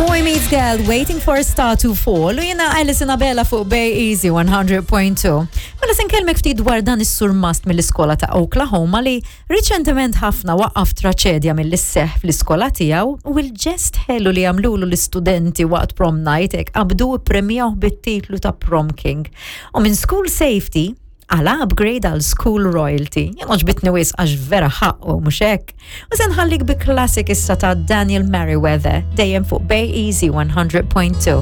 Boy Meets Girl, Waiting for a Star to Fall, u jena Alison Abela fuq Bay Easy 100.2. Mela se nkellmek ftit dwar dan is-surmast mill-iskola ta' Oklahoma li riċentement ħafna waqqaf traċedja milli sseħħ fl-iskola tiegħu u l-ġest ħelu li għamlulu l-istudenti waqt prom night hekk qabdu ippremjawh bit-titlu ta' Prom King. U minn School Safety għal upgrade għal School Royalty. Jien għoġbitni wisq għax vera ħaqqu mhux hekk. U se nħallik bi classic issa ta' Daniel Merriweather dejjem fuq Bay Easy 100.2.